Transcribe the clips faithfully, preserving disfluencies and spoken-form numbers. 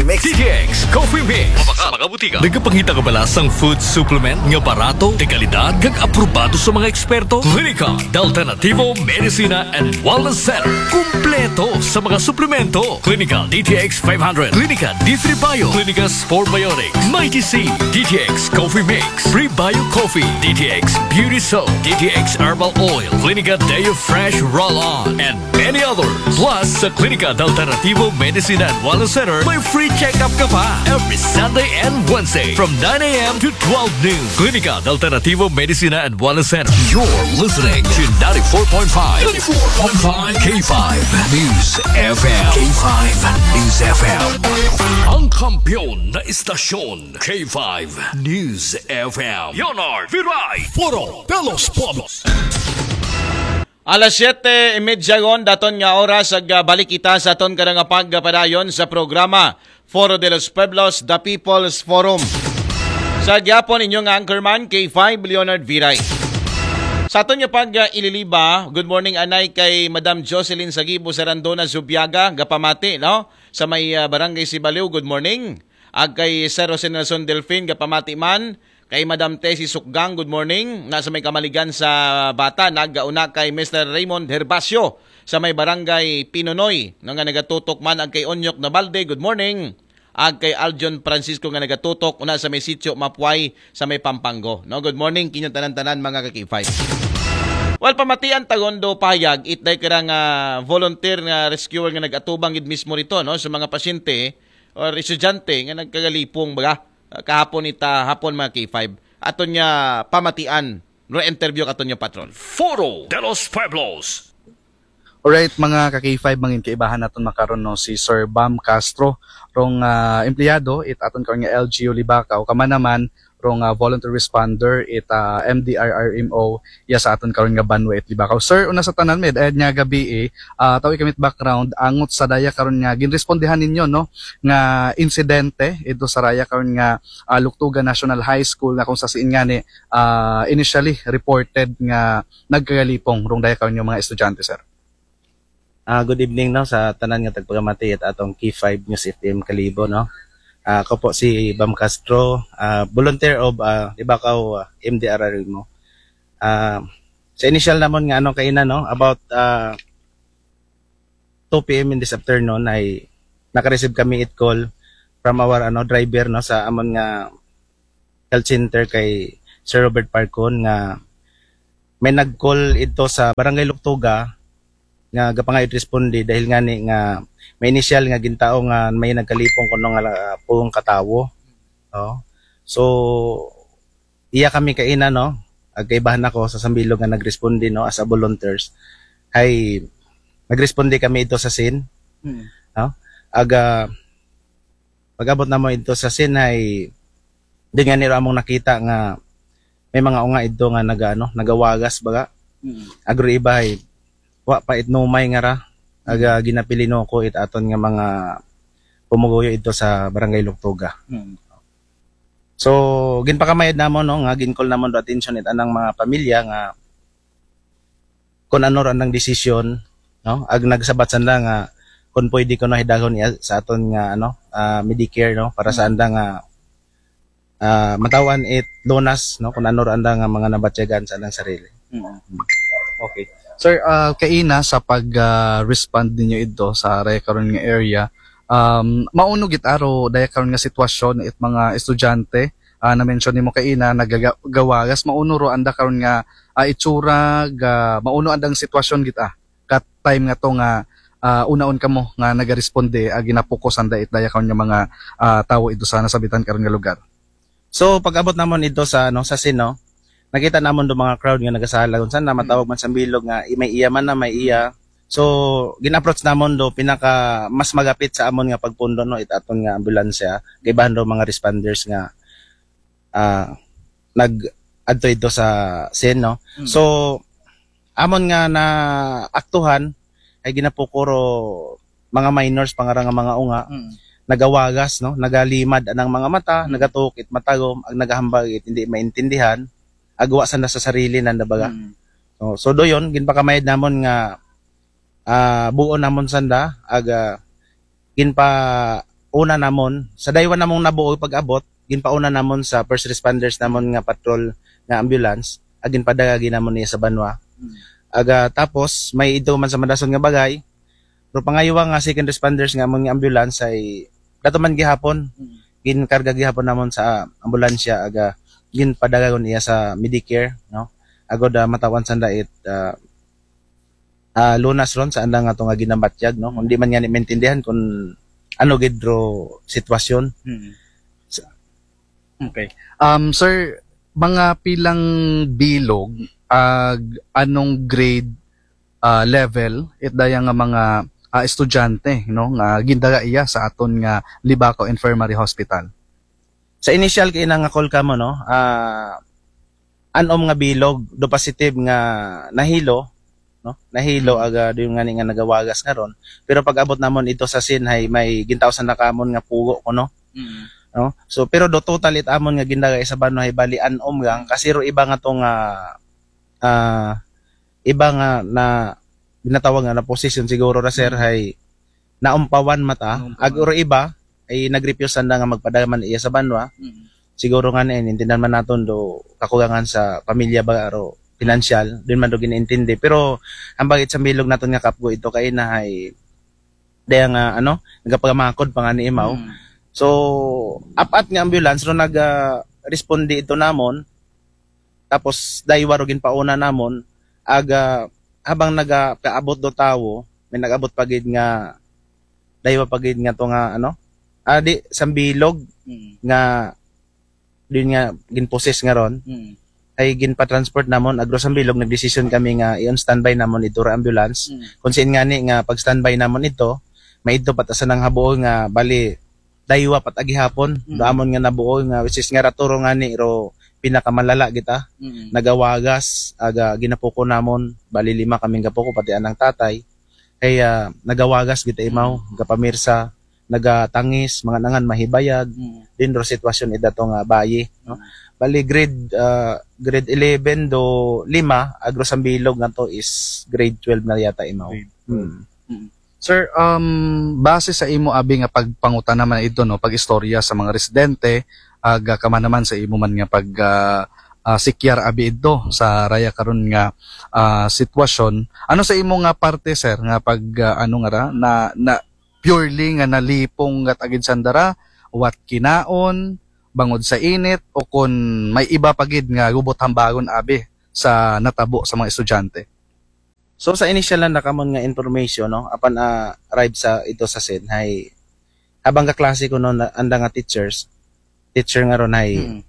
Mix. D T X Coffee Mix. Sa mga butika. Nagapangita ka ba sa food supplement nga barato, de kalidad, kag aprobado sa mga eksperto? Klinika de Alternativo Medicina and Wellness Center. Kumpleto sa mga suplemento. Klinika D T X five hundred, Klinika D three Bio, Klinika Spore Biotics, Mighty C, D T X Coffee Mix, Prebio Coffee, D T X Beauty Soap, D T X Herbal Oil, Klinika Deo Fresh Roll-On, and many others. Plus, sa Klinika de Alternativo Medicina and Wellness Center, may free check-up ka pa every Sunday and Wednesday from nine a.m. to twelve noon. Klinika de Alternativo Medicina and Wellness Center. You're listening to ninety-four point five, ninety-four point five K five News F M. K five News F M. Ang kampiyon na istasyon, K five News F M. Leonard Viray. Foro de los Pueblos. Alas siyete y medya gon daton nga oras ag ah, balik kita sa aton karang pagpadayon sa programa Foro de los Pueblos, The People's Forum. Sa gyapon inyo nga anchorman, K five Leonard Viray. Sa aton nga pag ah, ililiba, good morning anay kay Madam Jocelyn Sagibo Sarandona Zubiaga, gapamati, no? Sa may ah, Barangay Sibaliw, good morning. Ag kay Sir Jose Nelson Delfin, gapamati man, kay Madam Tessie Sukgang, good morning. Na sa may kamaligan sa bata, nagauna kay Mister Raymond Herbacio sa may barangay Pinonoy, no, nga nagatutok man ag kay Onyok Nabalde, good morning. Ag kay Aljon Francisco nga nagatutok una sa may sitio Mapway sa may Pampanggo. No, good morning kinyo tanan-tanan mga ka-K five. Well, pamatian tagon do pahayag itday karang ah, volunteer nga rescuer nga nagatubang gid mismo rito, no, sa mga pasyente or estudyante nga nagkagalipong baga ah, kahapon ita hapon mga K five. Aton niya pamatian, re-interview aton niya patron. Foro de los Pueblos. Alright, mga ka-K five, mangin kaibahan naton makaron, no, si Sir Bam Castro, rong ah, empleyado it aton karon nga L G U Libacao, kamanaman rong ah, volunteer responder it ah, M D R R M O, iya sa aton karon nga banwa it Libacao. Sir, una sa tanan, may-ada nga gabii, ah, tawi kami background angot sa daya karon nga ginrespondihan ninyo, no, nga insidente ito sa raya karon nga ah, Luktuga National High School, na kung sa siin ngani ah, initially reported nga nagkagalipong rong daya karon nga mga estudyante, sir. Ah, good evening, no, sa tanan nga tagpagamati at atong K five News F M Kalibo, no. Ah, ako po si Bam Castro, ah, volunteer of ah, Libacao ah, M D R R mo. Ah, sa initial namon nga ano kaina, no, about ah, two P M in this afternoon ay naka-receive kami it call from our ano driver, no, sa amon nga health center kay Sir Robert Parcon nga may nag-call ito sa Barangay Luktuga nga gapangayod responde dahil ngani nga may initial nga gintao nga may nagkalipong kuno nga ah, pulong katawo. Oh. So iya kami kaina, no, ag kaibahan ako sa sambilog nga nagresponde, no, as a volunteers. Hay nagresponde kami ito sa scene, no? Aga pag-abot namo ito sa scene hay di nga niro among nakita nga may mga unga ito nga naga ano, nagawagas baga. Agro iba hay wa pa it numay nga ra aga ginapilino ko it aton nga mga pumuguyo ito sa Barangay Luktuga. So ginpakamayad namon, no, nga gincall namon do attention it anang mga pamilya nga kun ano ra andang desisyon, no, ag nagsabat sanda nga kun pwede ko no hidagon iya sa aton nga ano ah, Medicare, no, para sa anda nga ah, mataw-an it lunas, no, kun ano ra anda nga mga nabatyagan sa andang sarili. Okay. Sir, ah, kaina sa pag ah, respond ninyo idto sa raya karon nga area, um, mauno gid aro daya karon nga sitwasyon it mga estudyante, ah, na-mention nimo kaina nagagawagas, mauno ro anda karon nga ah, itsura ga mauno andang sitwasyon gid ah, kat time nga to nga ah, unaon kamo nga nagaresponde, ah, ginapokus anda it daya karon nga mga ah, tawo idto sa nasabitan karon nga lugar. So pag-abot namon idto sa ano sa scene, no, nakita namon do mga crowd nga nagasala kun saan na matawag man sa bilog nga i- may iya man na may iya. So gin-approach namon do pinaka mas magapit sa amon nga pagpundo, no, it aton nga ambulansya, kaibahan do mga responders nga ah, nag adto idto sa scene, no. So amon nga naaktuhan ay ginapukuro mga minors pangara nga mga unga, nagawagas, no, nagalimad anang mga mata, nagatuok it matagom, ag nagahambag it hindi maintindihan, agwa sanda sa sarili nanda baga. No? So doyon ginpakamayad namon nga ah, buon namon sanda, ag ah, ginpa una namon, sa daywa namong nabuo pag-abot, ginpauna namon sa first responders namon nga patrol nga ambulance, ag ginpadala gyud namon niya sa banwa. Aga tapos may idto man sa madason nga bagay, pero pangayuwa nga second responders nga amon nga ambulance ay dato man gihapon, ginkarga gihapon namon sa ambulansya, aga ginpadala iya sa Medicare, no? Agod uh, matawan sanda it uh, uh, lunas ron sa andang ato nga ginabatyag, no? Kung di man nga ni maintindihan kung ano gid ro sitwasyon. Okay. Um, sir, mga pilang bilog, ag anong grade uh, level, it daya nga mga uh, estudyante, no, nga gindala iya sa aton nga Libacao Infirmary Hospital? Sa initial kay nga call kamo, no, ah, anom nga bilog, do positive nga nahilo, no? Nahilo aga do nga ni nga nagawagas nga ron. Pero pag abot namon ito sa scene hay may gintawsan na kamon nga pugo ko, no? No? So pero do total it amon nga gindala sa banwa hay bali anom lang kasi ro iba nga to nga ah, iba nga na ginatawag nga na position siguro ra sir hay naumpawan mata. Naumpawan. Ag uro iba ay nagrefuse sanda nga magpadala man iya sa banwa. Siguro nga ni intindihan man naton do kakulangan sa pamilya ba aro pinansyal din man do ginaintindi, pero ang bagit sa bilog naton nga kapgo ito kay na hay daya nga ano nagapamakod pa nga ni imaw. So apat nga ambulance ro nag ah, responde ito namon, tapos daywa ro ginpauna namon, aga habang nagapaabot do tawo may nagabot pagid nga daywa pagid nga to nga ano, ah, di sambilog nga din nga ginposes nga ron ay ginpa-transport namon agro sambilog, nagdesisyon kami nga i-on standby namon ito ra ambulance. Kung siin nga ni nga pag standby namon ito, may ito patasan ng habuol nga bali daywa pat agihapon do amon nga nabuol nga which is nga raturo nga ni ro pinakamalala kita. Nagawagas aga ginapuko namon, bali lima kaming gapuko pati anang tatay. Kaya nagawagas kita imaw, gapamirsa, nagatangis, mga nangan mahibayag din ro sitwasyon ida to nga bayi, no? Bali grade ah, grade eleven do lima, agro sambilog nga to is grade twelve na yata imaw. Sir, um, base sa imo abi nga pagpangutana man ito, no, pag-istorya sa mga residente, aga kama naman sa imo man nga pag ah, ah, sikyar abi ito sa raya karon nga ah, sitwasyon. Ano sa imo nga parte, sir, nga pag ah, ano nga ra na, na purely nga nalipong gat agid sandara, wat kinaon, bangod sa init, o kun may iba pagid nga gubot hambagon abi sa natabo sa mga estudyante? So sa initial na nakamon nga information, no, apan ah, arrive sa ito sa scene hay habang kaklase ko no na, anda nga teachers, teacher nga ron hay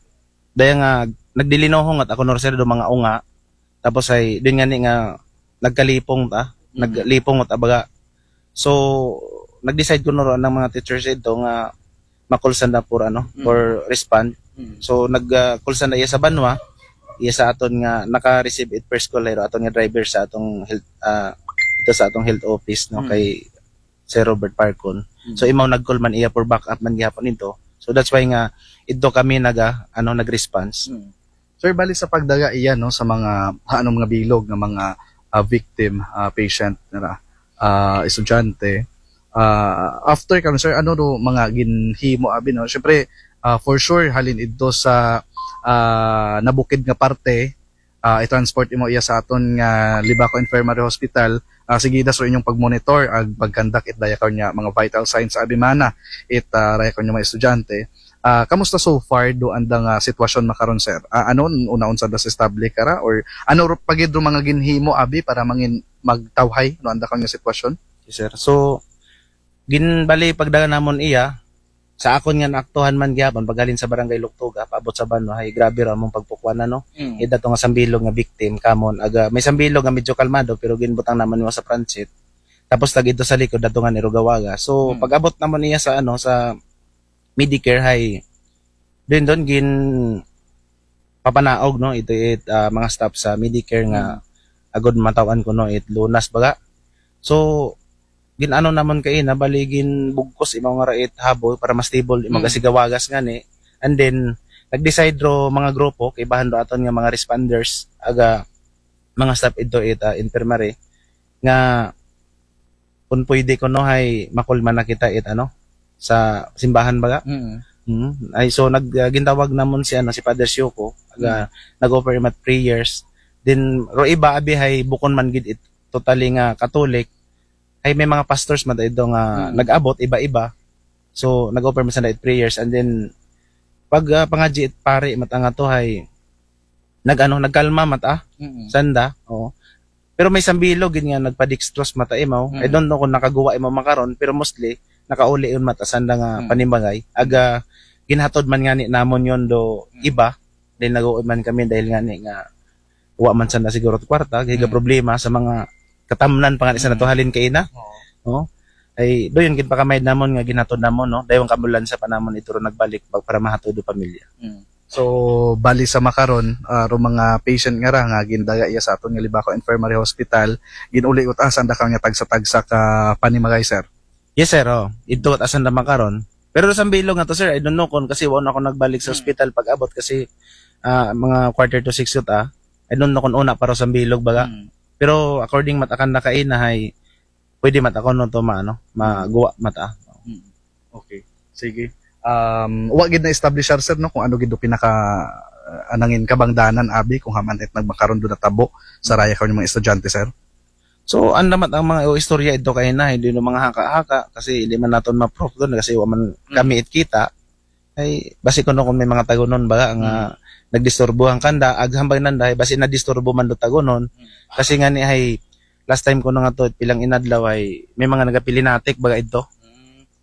daya nga nagdilinohong at ako no sir do mga unga, tapos ay din nga ni nga nagkalipong ta, naglipong at abaga. So nag-decide ko no ron ang mga teachers ito nga ma-call sanda for ano, for respond. So nag-call sanda iya sa banwa, iya sa aton nga naka-receive it first call, pero aton nga driver sa atong health ah, ito sa atong health office, no, kay Sir Robert Parcon. So imaw nag-call man iya for backup man gihapon ito. So that's why nga ito kami naga ano nag-response. Sir, bali sa pagdaga iya, no, sa mga hanom nga bilog nga mga ah, victim, ah, patient nara, ah, estudyante, ah, after karon, sir, ano do mga ginhimo abi, no? Syempre, ah, for sure halin idto sa ah, nabukid nga parte, ah, i-transport imo iya sa aton nga Libacao Infirmary Hospital. Ah, sige, das inyong pag-monitor ag pag-conduct it daya karon nga mga vital signs abi mana it ah, raya karon nga mga estudyante. Ah, kamusta so far do andang ah, sitwasyon makaron, sir? Ah, ano una unsa das estable kara or ano ro pagid do mga ginhimo abi para mangin magtawhay no anda karon nga sitwasyon? Yes, sir. So ginbali pagdala namon iya sa akon nga naaktuhan man gyapon paghalin sa barangay Luktuga paabot sa banwa hay grabe ra among pagpukuan ano. Ida to nga sambilog nga victim kamon aga may sambilog nga medyo kalmado pero ginbutang namon nimo sa pransit. Tapos tag ito sa likod dato nga ni Rugawaga. So pag-abot namon niya sa ano sa Medicare hay din doon gin papanaog no ito it ah, mga staff sa Medicare nga agod matawan ko no it lunas baga. So gin ano namon kay na bali gin bugkos imaw nga ra it haboy para mas stable imaw kasi gawagas nga ni. And then nag-decide ro mga grupo kay bahan do aton nga mga responders aga mga staff ito it ah, infirmary nga kung pwede ko no hay makulma na kita it ano sa simbahan baga. Mm. Hmm. Ay, so nag ah, gintawag namon si ano, si Father Sioko, aga nag-offer mat prayers. Then ro iba abi hay bukon man gid it totally nga Catholic. Ay may mga pastors man ito nga Mm. nag-abot iba-iba. So nag-offer man sanda it prayers, and then pag ah, pangadji it pari mat nga to hay nag ano, nagkalma mat ah, Mm. sanda. Oo. Pero may sambilog gid nga nagpa-dextrose mat ah imaw. I Mm. don't know kung nakaguwa imaw makaron, pero mostly nakauli yun mat ah sanda nga Mm. panimagay. Aga ginhatod man nga ni namon yun do iba, dahil nag-uwi man kami dahil nga ni nga wa man sanda siguro kwarta, higa Mm. problema sa mga katamnan pa nga ni sa Mm. natuhalin kaina. Oo. No? Ay, do yun, ginpakamayad namon nga ginhatod namon, no? Dayon ka ambulansya pa namon ituro nagbalik pag para mahatod do pamilya. Mm. So, bali sa makaron, ah, ro mga patient nga ra nga gindaga iya sa aton nga Libacao Infirmary Hospital, ginuli ut asan da ka nga tagsa-tagsa ka panimagay, sir? Yes, sir. Oh. Ito at asan na makaron. Pero sa bilog nga to, sir, I don't know kung kasi wala ako nagbalik sa Hmm. Hospital pag abot kasi ah, mga quarter to six yun, ah. I don't know kung una para sa bilog baga. Mm. Pero according mat akan na kaina hay pwede mat ako no to maano, maguwa mat ah. Mm. Okay. Sige. Um, wa gid na establish, sir, no, kung ano gid do pinaka uh, anangin kabangdanan abi kung haman it nagmakaron do natabo sa raya karon mga estudyante, sir. So, anda mat ang mga istorya ito kaina, hindi no mga haka-haka kasi hindi man naton ma-proof doon kasi wa man kami it kita. Ay basi kuno kung may mga tagunon baga nga nagdisturbo ang kanda, aghambay nanda, ay basi nadisturbo man do tagunon. Kasi nga ni ay last time ko na nga to, pilang inadlaw ay may mga nagapilinatik baga ito.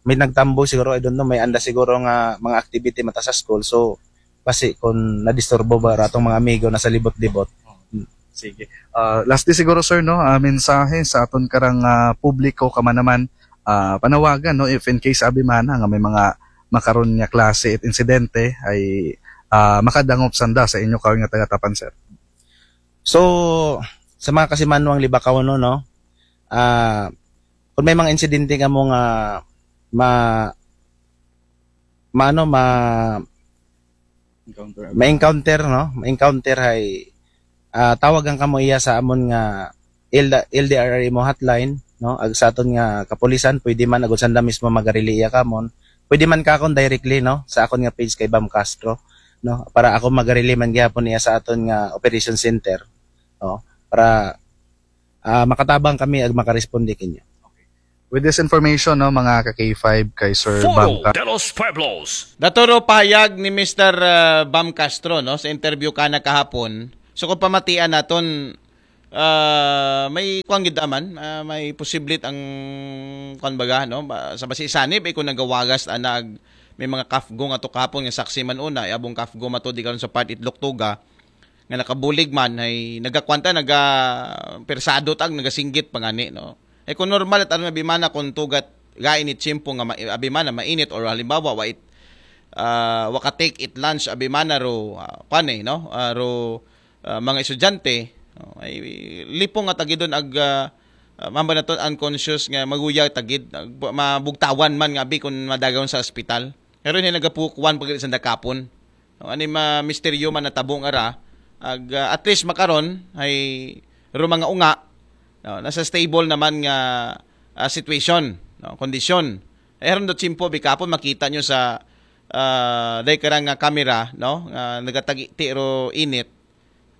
May nagtambo siguro, I don't know, may anda siguro nga mga activity mata sa school. So, basi kung nadisturbo ba ra atong mga amigo na sa libot-libot. Sige. Ah, lastly siguro, sir, no, ah, mensahe sa aton karang ah, publiko ka man naman, ah, panawagan, no, if in case abi man nga may mga makaron nga klase it insidente ay ah, makadangop sanda sa inyo karon nga taga-Tapan, sir. So, sa mga kasimanwang Libakaw, no, no? Ah, kung may mga insidente kamo nga ma maano ma Encounter. ma-encounter, no? Ma-encounter hay ah, tawagan kamo iya sa amon nga L D, L D R R M O hotline, no? Ag sa aton nga kapulisan, pwede man agud sanda mismo magarili iya kamon. Pwede man ka akon directly, no, sa akon nga page kay Bam Castro, no? Para ako magarili man gihapon iya sa aton nga operation center, no? Para ah, makatabang kami ag makaresponde kinyo. With this information, no, mga ka K five, kay Sir Bam Foro Ca- de los Pueblos. Daturo pahayag ni Mister uh, Bam Castro, no, sa interview ka na kahapon. So kung pamatian naton uh, may kuan gid man, uh, may posiblit ang kuan baga, no, ba- sa basi sanib ay kung nagawagas anag may mga kafgo nga to kahapon nga saksi man una, ay abong kafgo mato di karon sa part itlok tuga nga nakabulig man ay nagakwanta naga persado tag nagasinggit pa ngani, no. Ay kung normal at ano abimana kung tugat gain it tiyempo nga ma- abimana mainit or halimbawa wa it ah, waka take it lunch abimana ro ah, kwan eh, no. Ah, ro ah, mga estudyante, no? Ay lipong nga tagidon ag ah, ah, mamba na to unconscious nga maguya tagid ag- mabugtawan man nga abi kung madagaw sa ospital. Pero hindi nagapukuan pag sa dakapon. No, ani ma misteryo man natabo nga ra ag ah, at least makaron ay ro mga unga, no, nasa stable naman nga ah, situation, no, kondisyon. Ay ron do tiyempo bikapon makita nyo sa ah, day karang nga camera, no, nga nagatagiti ro init,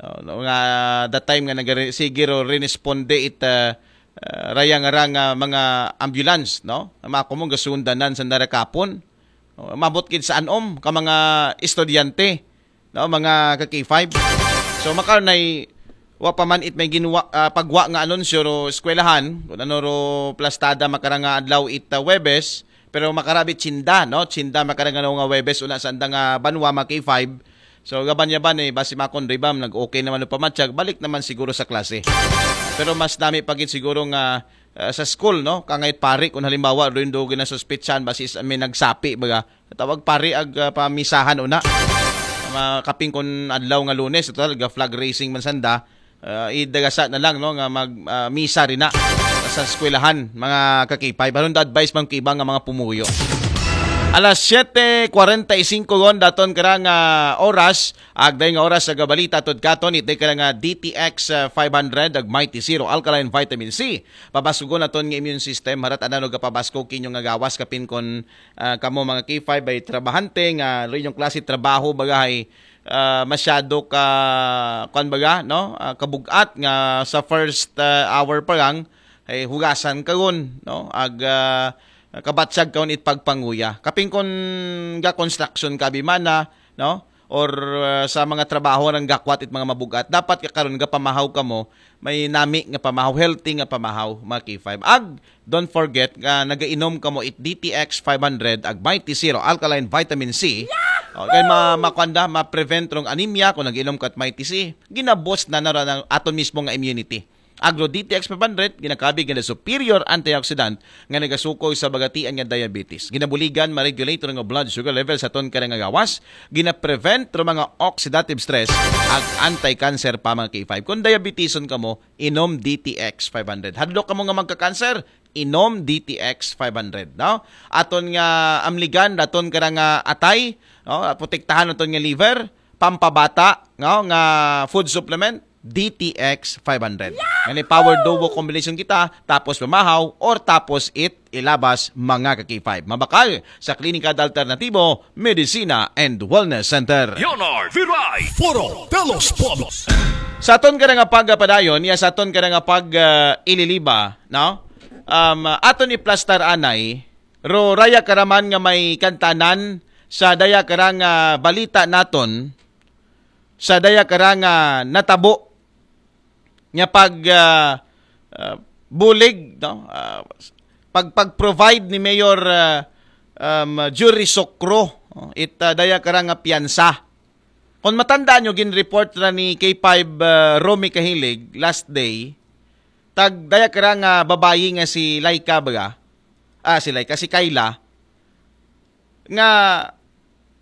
no, no, nga that time nga nagare sige ro rinesponde it ah, ah, raya nga ra nga mga ambulance, no, mako mo gasundanan sa narakapon. No, mabot gid sa anom ka mga estudyante, no, mga ka K five. So makaron ay wa pa man it may ginwa ah, pagwa nga anunsyo ro eskwelahan kung ano ro plastada makarang nga adlaw it ah, Webes, pero makarabi tsinda, no, tsinda makarang nga Webes una sa andang ah, banwa mga K five. So gaban yaban eh basi makon ribam nag okay naman ro pamatyag balik naman siguro sa klase. Pero mas dami pa gid siguro nga ah, sa school, no, kangay pari kung halimbawa rin do ginasuspitsan basi sa may nagsapi baga tawag pari ag ah, pamisahan una. Makaping kun adlaw nga Lunes, total ga flag raising man sanda. Ah, idagasa na lang, no, nga mag ah, misa rin na sa eskwelahan mga kakipay. Baron da advice man kiba nga mga pumuyo. Alas siyete kwarenta y singko ron daton karang ah, oras, agday nga oras sa gabalita tod katon, itday karang ah, D T X ah, five hundred, ag Mighty Zero Alkaline Vitamin C. Pabaskugon naton nga immune system, harat anan og pabaskog kinyo nga gawas, kapin kon ah, kamo mga K five ay trabahante nga inyong klase trabaho bagahay ah, masyado ka, kwan baga, no? Ah, kabugat nga sa first ah, hour pa lang, ay hugasan karon, no? Ag ah, kabatsag karon it pagpanguya. Kapin kon ga construction ka bimana, no? Or ah, sa mga trabaho nang gakwat it mga mabugat, dapat ka karon gapamahaw kamo, may nami nga pamahaw, healthy nga pamahaw, mga K five. Ag don't forget nga nagainom kamo it D T X five hundred ag Mighty Zero Alkaline Vitamin C. Okay, ma makwanda, ma-prevent rong anemia kung nag-inom ka at Mighty C. Ginaboost na na ron ang aton mismo nga immunity. Agro D T X five hundred, ginakabig nga superior antioxidant nga nagasukoy sa bagatian nga diabetes. Ginabuligan, ma-regulate nga blood sugar level sa aton karang nga gawas. Gina-prevent ro mga oxidative stress ag anti-cancer pa, mga K five. Kung diabeteson kamo, inom D T X five hundred. Hadlok kamo nga magka-cancer, inom D T X five hundred, no? Aton nga amligan, aton karang nga atay, no? Protektahan aton nga liver, pampabata, no? Nga food supplement, D T X five hundred. Ngani power duo combination kita, tapos pamahaw, or tapos it ilabas, mga ka-K five. Mabakal sa Klinika de Alternatibo, Medicina and Wellness Center. Leonard Viray. Foro de los Pueblos. Sa aton karang nga pagpadayon, ya sa aton karang nga pag ah, ililiba, no? Um, aton iplastar anay, ro raya karaman nga may kantanan sa daya karang ah, balita naton, sa daya karang ah, natabo nga pag ah, ah, bulig, no? Ah, pag pag-provide ni Mayor ah, um, Jury Sokro, no? It ah, daya karang nga piyansa. Kung matandaan nyo, gin-report ra ni K five ah, Romy Kahilig last day, tag daya karang nga babayi nga si Laika baga, ah, si Laika, si Kayla, nga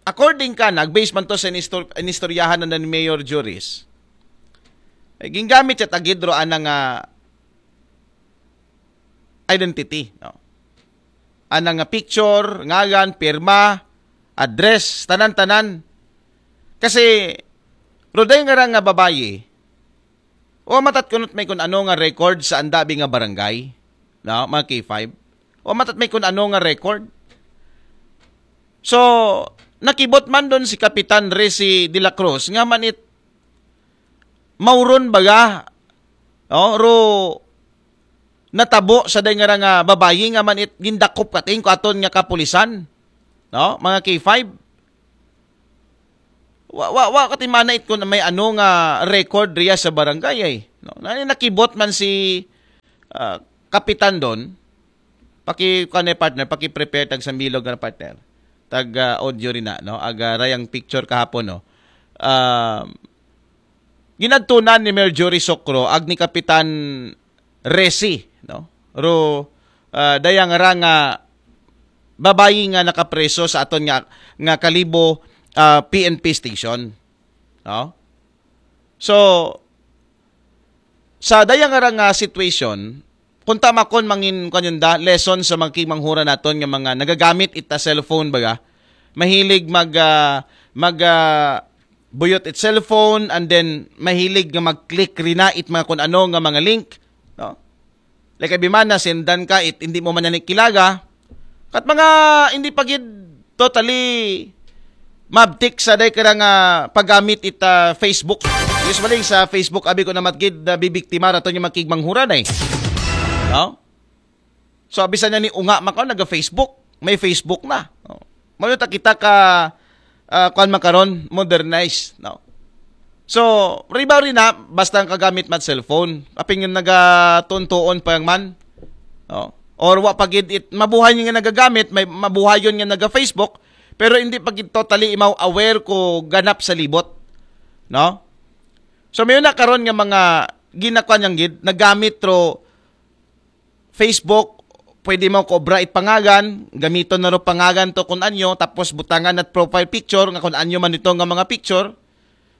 according ka, nag-base man to sa inistor- inistoryahan na ni Mayor Juris. Eh, gingamit siya tagid ro anang ah, identity, no? Anang ah, picture, ngalan, pirma, address, tanan-tanan. Kasi, ro daya karang nga babayi, wa matat kunot may kun ano nga record sa andabi nga barangay, no, mga K five. Wa matat may kun ano nga record. So, nakibot man don si Kapitan Resi de la Cruz nga man it mauron baga, no, ro natabo sa daya karang nga babayi nga man it gindakop kating ko aton nga kapulisan, no, mga K five. Wa, wa, wa katimana it kun may ano nga record riya sa barangay ay. No? Na, nakibot man si ah, kapitan don, paki kanay partner, paki-prepare tag sambilog nga partner. Tag ah, audio rin na, no? Aga rayang picture kahapon, no? Ah, ginadtunan ni Mayor Jory Socro ag ni Kapitan Resi, no? Ro ah, dayang ra nga babayi nga nakapreso sa aton nga nga Kalibo ah, P N P station, no? So, sa dayang ra nga situation, kung tama kon mangin kanyunda lesson sa mga kigmanghura naton nga mga nagagamit ita cellphone baga, mahilig mag ah, mag ah, buyot it cellphone and then mahilig nga mag-click rina it mga kun ano nga mga link, no? Like abi man na sendan ka it hindi mo man na kilaga. Kat mga hindi pa gid totally mabtik sa day karang nga paggamit it ah, Facebook. Usually sa Facebook abi ko na matgid na bibiktima raton yung makigmanghuran eh. No? So bisan niya ni unga makaw naga Facebook, may Facebook na. No? Mao ta kita ka ah, kuan makaron, modernized, no? So, riba rin na, basta ang kagamit mat cellphone. Aping yung nagatuntuon pa yung man. No? Or wa pa gid it, mabuhay nga nagagamit, may mabuhayon nga naga-Facebook, pero hindi pa gid totally imaw aware ko ganap sa libot. No? So, may na karon nga mga ginakuan yang gid, nagamit ro Facebook, pwede mo kobra it pangagan, gamiton na ro pangagan to kun anyo, tapos butangan at profile picture nga kun anyo man ito nga mga picture.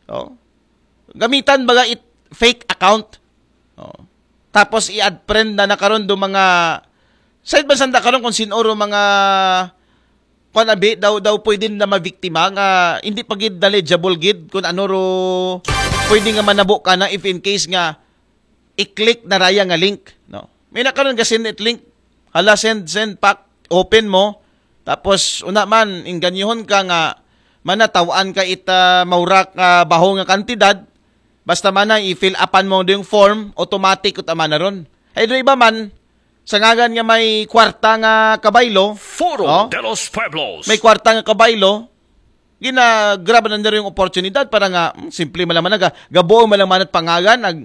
Oh. Gamitan baga it fake account. Oh. Tapos i-add friend na na karon do mga side ba sanda karon kung sino ro mga kuan abi, daw, daw pwede na mabiktima nga hindi pa gid knowledgeable gid kung ano ro pwede nga manabo kana if in case nga i-click na raya nga link, no? May na karon ga-send it link. Hala, send, send, pak, open mo. Tapos, una man, inganyohon ka nga manataw-an ka ita maurak nga baho nga kantidad. Basta man na i-fill upan mo yung form, automatic ut amana ron. Ay, do iba man, sa ngagan nga may kwarta nga kabaylo, Foro oh, de los Pueblos. May kwarta nga kabaylo, ginagrab na nila yung oportunidad para nga, hmm, simple man lang man, ga-, gabuo man lang man at pangalan, ag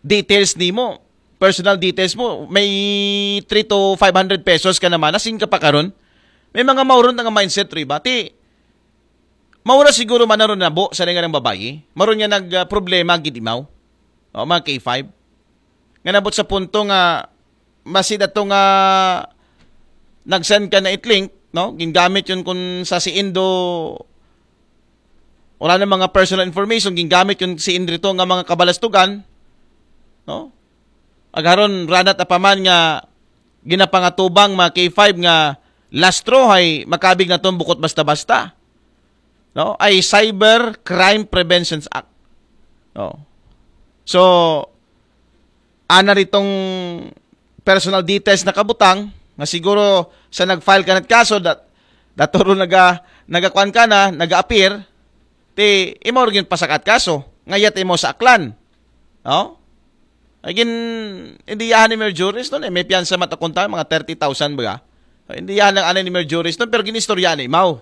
details nimo, personal details mo, may three to five hundred pesos ka naman, nasing ka pa karon. May mga mauron nga mindset ri ba? Ti, maura siguro man naron nabo sa nga babayi. Maron nga nag, ah, problema gid imaw. O, mga K five. Nga nabot sa punto nga, masi dato nga nag-send ka na it link, no? Gingamit yun kung sa si Indo, wala na mga personal information, gingamit yun si Indrito nga mga kabalastugan, no? Agaron, ranat apaman nga ginapangatubang mga K five nga last straw ay makabig na tong bukot basta-basta. No? Ay Cyber Crime Prevention Act. No? So, ana ritong personal details na kabutang, nga siguro sa nag-file ka na kaso, dat, daturo naga, nagakuan ka na, naga-appear, ti, imo rin pasakat kaso, ngayat imo sa aklan. No? Again, indiyahan ni Mayor Juris nun, eh, may piyansa matakunta, mga thirty thousand ba? Indiyahan lang anay ni Mayor Juris nun, pero ginistorya ni Mau.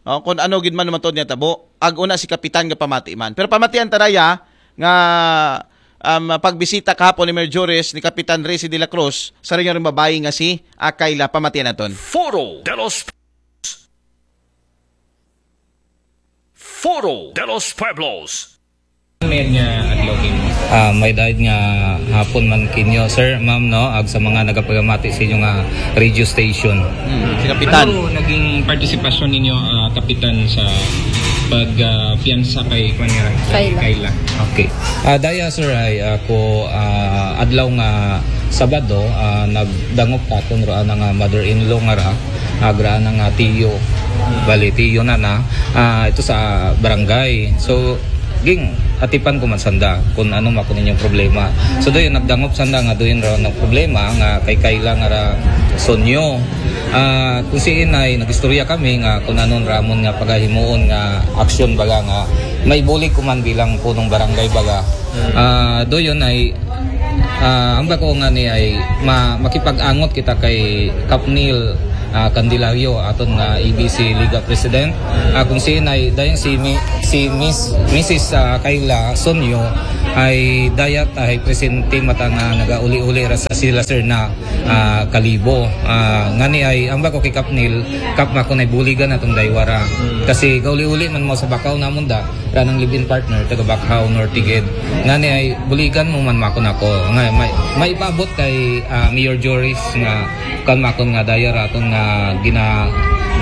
No? Kung ano gid man matod niya tabo, ag una si Kapitan nga pamati man. Pero pamatian taraya nga, um, pagbisita kahapon ni Mayor Juris ni Kapitan Resi de la Cruz, sa rin yung babae nga si Akayla, pamatian naton. Foro de los Foro de los Pueblos. May nga adlaw kayo. Ah, may daid nga hapon man kinyo, sir, ma'am, no? Ag sa mga nagapagamati sa inyo nga radio station. Hmm, si Kapitan. Ano naging partisipasyon ninyo, ah, Kapitan, sa pag, ah, piyansa kay, kwan niya, kay Kayla? Kayla. Okay. Ah, daya, sir, ay ako, ah, adlaw nga Sabado, ah, nagdangop ka kung raan nga mother-in-law nga ra, agra na nga tiyo. Bali, tiyo na na. Ah, ito sa barangay. So, ging, atipan ko man sanda kung ano man kung inyong problema. So, doon, nagdangop sanda nga doon raw ng problema nga kay Kayla nga ra Sonyo. Ah, kung si Inay, nag-istorya kami nga kung anong ramon nga pagahimuon nga aksyon baga nga may bulig ko man bilang punong barangay baga. Ah, doon ay, ah, ang bako nga ni ay ma-, makipag-angot kita kay Kapnil, ah, Candelario, aton nga A B C Liga President. Ah, kung si Inay, dayang si Mi-, si Miss, Missus, ah, Kayla Sonyo ay dayat ay presente mata nga nagauli-uli ra sa sila sir na, ah, Kalibo. Ah, ngani ay, ang bako kay Kapnil, Kap, mako na buligan atong daywara. Kasi gauli-uli man mo sa bakaw namon da, ranang live-in partner, taga Bacau, Norte gid. Ngani ay buligan mo man makon ako. Nga, may, may ipaabot kay, ah, Mayor Joris nga kan makon nga daya raton nga gina-,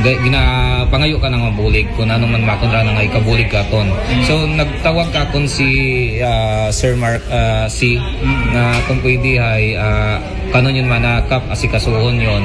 ga-, ginapangayo ka nga mabulig kung ano man makon ra nga ikabulig katon. So, nagtawag ka kon si, ah, Sir Mark, ah, C, nga kung pwede ay, ah, kanon yun man na Kap, asikasuhon yun.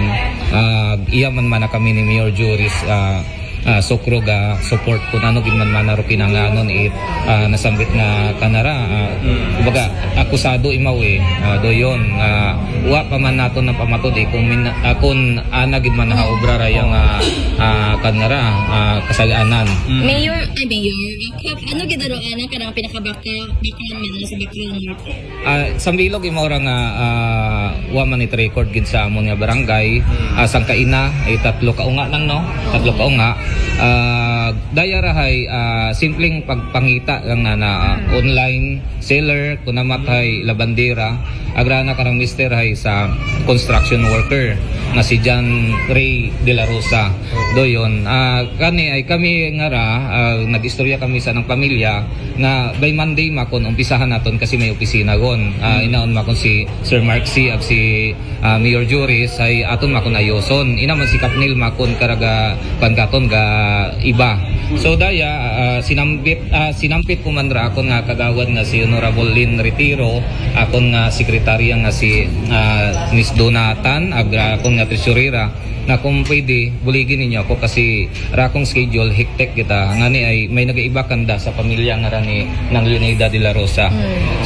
Ah, iya man man na kami ni Mayor Joris, ah, ah, sukro ga support kung ano gid man man na ro kinanganon it, ah, nasambit nga kanara. Ah, kumbaga, akusado imaw eh. Ah, doyon, ah, wa pa man naton na pamatod eh kung min-, ah, kung ana gid man na obra ra yang, ah, ah, kanara, ah, kasalanan. Mayor, ay, Mayor, Kap, ano gid aro ana kanang pinakabaka, baka man sa Bacau Norte? Ah, sambilog imo ra nga, ah, wa man it record gid sa amon nga barangay. Ah, sangka ina, ay tatlo ka unga nang, no? Tatlo ka unga. Ah, daya ra hay, ah, simpleng pagpangita lang na, na, ah, online seller, kunamat hay labandera. Agra na karang mister hay sa construction worker nga si John Ray de la Rosa. Doyon, ah, kani ay kami nga ra, ah, nag-istorya kami sa nang pamilya, na by Monday makon umpisahan naton kasi may opisina gon. Ah, inaon makon si Sir Mark C ag si, ah, Mayor Juris ay aton makon ayoson. Ina man si Kapnil makon karaga pangkaton ga iba. So daya, ah, sinambit, ah, sinampit ko man ra akon nga kagawad nga si Honorable Lynn Retiro, akon nga sekretarya nga si, ah, Miss Dona Tan, ag akon nga treasurera, na kung pwede, buligi ninyo ako kasi ra akong schedule, hectic kita. Ngani ay may nagaiba kanda sa pamilya nga ra ni Nang Leonida de la Rosa.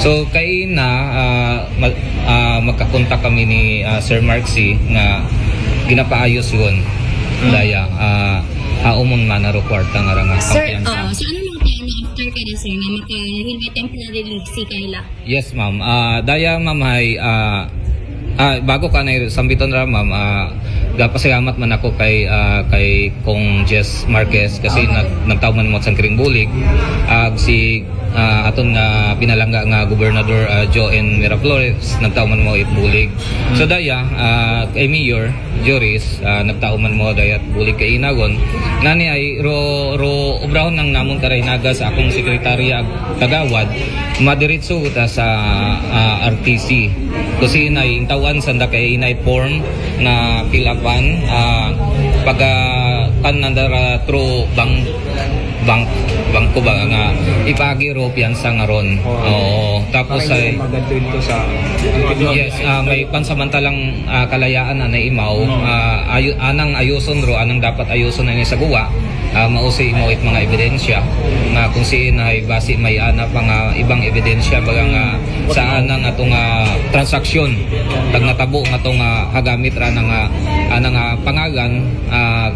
So, kay na, ah, mag, ah, magkakontak kami ni, ah, Sir Mark C nga ginapaayos yun. Daya, ah, haumon man naro kwarta nga ra nga Sir, kampiyansa. Oo, so ano mga plano after ka na, sir, nga makahilway temporary leave si Kayla? Yes, ma'am. Ah, daya, ma'am, ay, ah, ah, bago ka na sambiton ra, ma'am, ah, gapasalamat man ako kay, ah, kay Kong Jess Marquez kasi nag, nagtaw man mo sa kiring bulig. Ah, si, ah, aton nga pinalangga nga Gobernador, ah, Joe N Miraflores, nagtaw man mo it bulig. So, daya, ah, kay Mayor Joris, ah, nagtaw man mo dayat bulig kay inagon. Ngani ay ro, ro obrahon nang namon karaynaga sa akong sekretarya ag kagawad, madiretso ta sa, ah, R T C. Kasi inay intawan sanda kay inay form na fill upan, ah, pag, ah, kan nandara through bank, bank, bangko ba nga ipagi ro piyansa nga ron. Oo, tapos Para ay hindi magadto ito sa Yes, ah, may pansamantalang, ah, kalayaan na naimaw. Ah, ayu, anang ayuson ro, anang dapat ayuson na ni sa guwa. Ah, mausi imo it mga ebidensya nga kung siin ay basi may ana pa nga ibang ebidensya baga nga sa anang atong, ah, transaksyon pag natabo nga atong, ah, hagamit ra na nga anang, ah, pangalan, ah,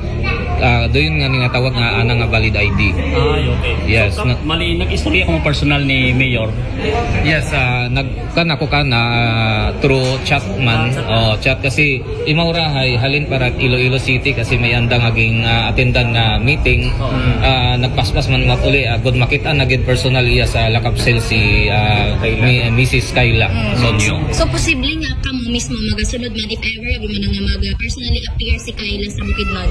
ah, doon nga ninatawag nga anang, ah, valid I D. Ay, okay. Yes, So, na- mali, nag-istorya ko mo personal ni Mayor. Yes, ah, nag kan ako ka na, ah, through chat man. Oh, chat kasi imaw ra hay halin para Iloilo City kasi may andang aging, ah, attendan nga meeting. Ah, nagpaspas man mat uli, ah, good makita na gid personal iya sa lakap cell si, ah, mi, Missus Kayla Sonyo. So, posible nga kamo mismo magasunod man if ever, abi man nga mag-, personally appear si Kayla sa Bukidnon?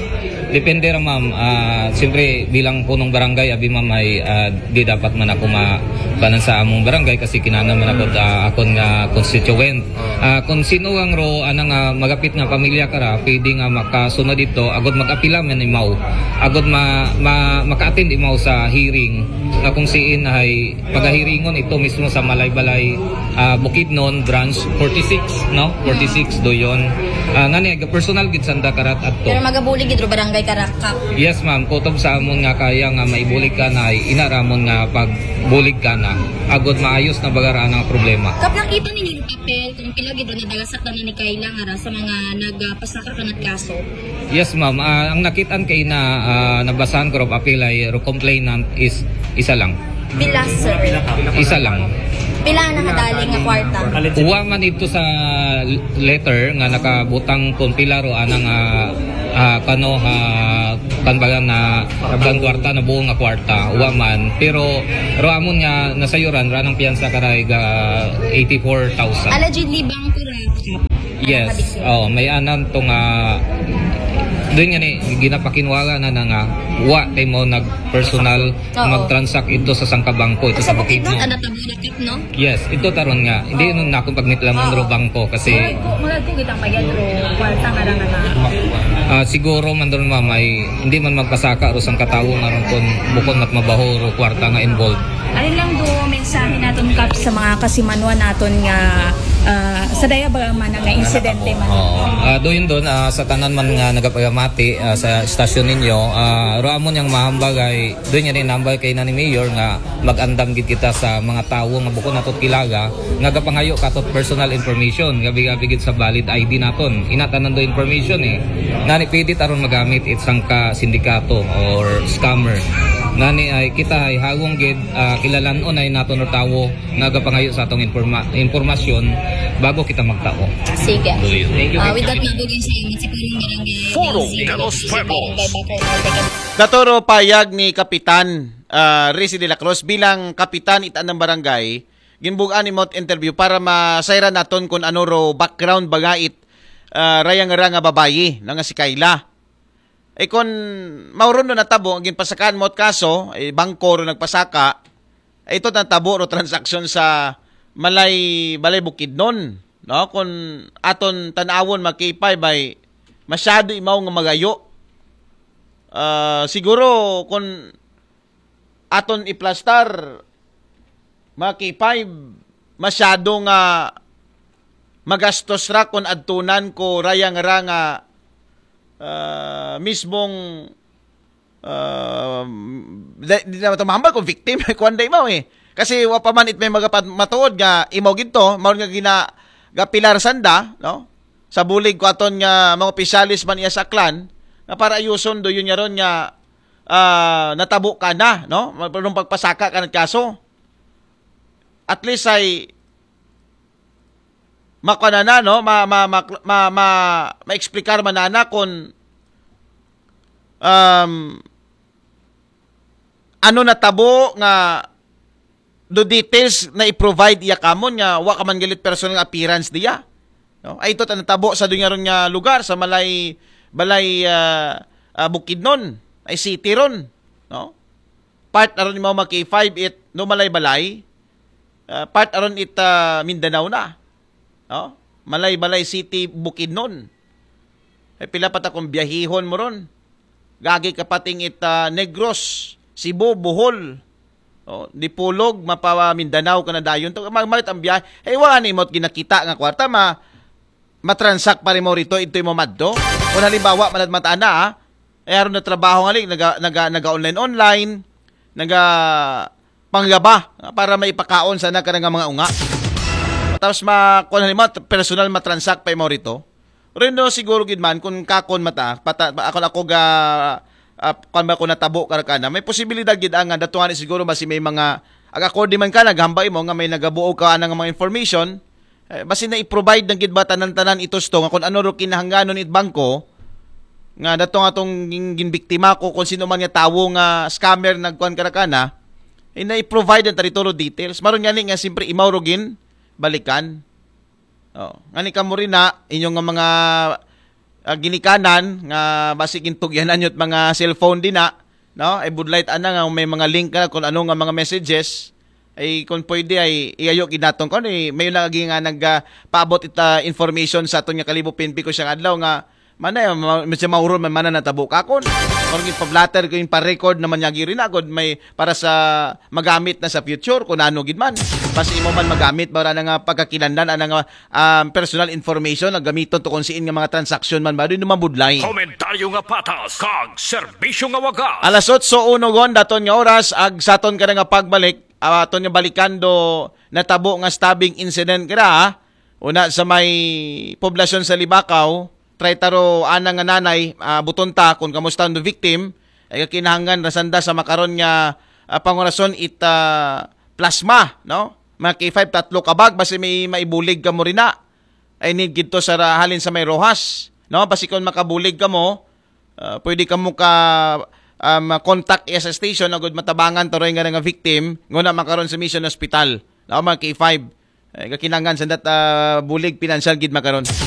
Depende ra, ma'am. Ah, siyempre, bilang punong barangay, abi, ma'am, ay, ah, di dapat man ako ma kanan sa among barangay kasi kinahanglan man ako, ah, akon nga constituent. Ah, kung sino ang ro anang, ah, magapit nga pamilya kara, pwede nga makasunod dito, agod mag-apila man imaw. Agod ma, ma, maka-attend imaw sa hearing nga kung siin ay pagahiringon ito mismo sa Malaybalay, ah, Bukidnon, branch forty-six, no? Forty-six do yon. Ah, ngani, personal gid sanda karat adto. Pero magabulig gid ro barangay Karakap. Yes, ma'am. Kutob sa amon nga kaya nga maibulig ka na ay inaramon nga pagbulig ka na. Agod maayos na bagaraan ang problema. Kap, nakita ninyo ro papel kung pila gid ro nadala sa tanan ni Kayla nga ra sa mga nagpasaka kanat kaso? Yes, ma'am. Ah, ang nakitaan kay na, ah, nabasahan ko ro papel ay ro complainant is isa lang. Pila, sir? Isa lang. Pila na kadali nga kwarta? Uwa man ito sa letter nga nakabutang kung pila ro anang, ah, ah, kano ha kan baga na kan kwarta na buo nga kwarta. Uwa man. Pero ro amon nga nasayuran ra nang piyansa karay ga eighty-four thousand. Allegedly, bangko ra. Yes. Oh, may anan to nga doon nga ni ginapakinwala na na nga wa kay mo nag personal Oo. mag-transact ito sa sangka bangko ito sa Sa Bukidnon, Bukidnon. Ano tabo na kap, no? Yes, ito taron nga. Hindi nun na akong pagmitlamon Oo. ro bangko kasi Magad ko, magad ko kita mayad ro kwarta nga ra nga na. ah, siguro man doon, ma'am, ay hindi man magpasaka ro sangka tawo nga ron kun bukon mat mabaho ro kwarta nga involved. Alin lang do mensahe naton, kap, sa mga kasimanwa naton nga, ah, sa daya ba man nga insidente man? Oo. Ah, doon doon, ah, sa tanan man nga nagapagamati, ah, sa estasyon ninyo, ah, ro amon yang mahambag ay doon nga ni nambal kay na ni Mayor nga mag-andam gid kita sa mga tawo nga bukon natot kilala nga gapangayo katot personal information, gabi-gabi gid sa valid I D naton. Inatanan do information eh. Nani pwede taron magamit it sangka sindikato or scammer. Nani ay kita ay hagong gid, ah, kilalanon ay naton ro tawo nga gapangayo sa atong informa- impormasyon bago kita magtao. Sige. Doon. Ah, with that, mabugin sa inyo si Purong Barangay. Purong Ding de los Zing. Pueblos. Barangay Bakay, Barangay Katuro payag ni Kapitan, ah, Rizzy de la Cruz bilang kapitan itan ng barangay, ginbugaan ni Mount interview para masayran naton kung ano ro background bagait, ah, rayang ra nga babayi na nga si Kayla. Eh, kung mauron do natabo, ang ginpasakaan mo kaso, eh, bangko ro nagpasaka, eh, ito natabo ro transaksyon sa Malay, Balay Bukidnon, no? Kung aton tanawon, makipay bay, masyado imaw nga magayo. Ah, siguro, kung aton iplastar, mga K five, masyado nga magastos ra kon adtunan ko rayang ra nga ah, mismong ah, di, di na ito mahambal kung victim, kuwan da imaw eh. Kasi wa pa man it may magapat matuod nga imaw gito, maon nga gina gapilar sanda, no? Sa bulig ko aton nga mga opisyalis man iya sa Aklan, nga para ayuson do yun nga ron nga ah, natabo ka na, no? Mayroong pagpasaka ka ng kaso. At least ay makuha na na, no? Ma, ma, ma, ma, ma, ma-explicar man na na kung um, ano natabo nga do details na i-provide iya kamon nga wa ka man galit personal nga appearance diya. No? Ay ito ta natabo sa dunya ron nga lugar sa Malay Balay ah, ah, Bukidnon, ay city ron, no? Part aron imaw mga K five it no Malay Balay, ah, part aron it ah, Mindanao na. No? Malay Balay City, Bukidnon. Ay pila pa ta kung biyahihon mo ron. Gagi ka pating it ah, Negros, Cebu, Bohol. Oh, Dipolog, mapa Mindanao ka na dayon. To, mag-, mag-, ang biyahe. Ay, wala ni mo ginakita nga kwarta, ma matransak pa rin mo rito, ito mo madto. Kung halimbawa, manad matana, ah, eh, aron na trabaho nga, naga, naga, naga online online, naga panggaba, ah, para maipakaon sana ka nga mga unga. Tapos ma, kung halimbawa, personal matransak pa mo rito. Rendo siguro gid man kung kakon mata, pata, ako ako ga ah, kung ba ko natabo ka ka na, may posibilidad gid ang datungan ni siguro basi may mga ag-accord man ka naghambay mo nga may nagabuo ka anang mga information, eh, basi na i-provide ng gid ba tanan-tanan itos to nga kung ano ro kinahanglanon it bangko nga datong atong gin- ginbiktima ko kung sino man nga tawo nga scammer nagkuan ka na, eh, na i-provide ang territory details. Maron gani nga siyempre imaw ro gin balikan. Oh, ngani kamo rin na inyong nga mga ah, ginikanan nga basi gintugyanan yun mga cellphone din na, no? Ay budlight ana nga may mga link na kung ano nga mga messages ay kung pwede ay iyayo ginaton ko ni may lagi nga nagpaabot ita information sa aton nga Kalibo P N P ko siyang adlaw nga mana ma- medyo mauron man mana natabo ka kon or gipablatter ko yung pa-record naman niya giri na gud may para sa magamit na sa future kung ano gid man. Basi imo man magamit ba na nga pagkakilandan ana nga um, personal information na gamiton to kung siin nga mga transaksyon man ba doon mabudlay. Komentaryo nga patas kag serbisyo nga wagas. Alas otso uno gon daton nga oras ag saton ka na nga pagbalik ah, aton nga balikan do natabo nga stabbing incident kira ha. Una sa may poblasyon sa Libakaw, try taro ana nga nanay, ah, buton ta kung kamusta ang victim, ay kakinahanglan rasanda sa makaron nga ah, pangurason it ah, plasma, no? Mga K five, tatlo ka bag, basi may maibulig ka mo rin na. I need gid to sa ra- halin sa may Rojas, no? Basi kung makabulig ka mo, ah, pwede ka mo ka um, contact iya sa station agud matabangan to rin nga nga victim nguna makaron sa Mission Hospital. No, mga K five. Eh, kakinangan sa dat ah, bulig pinansyal gid makaron.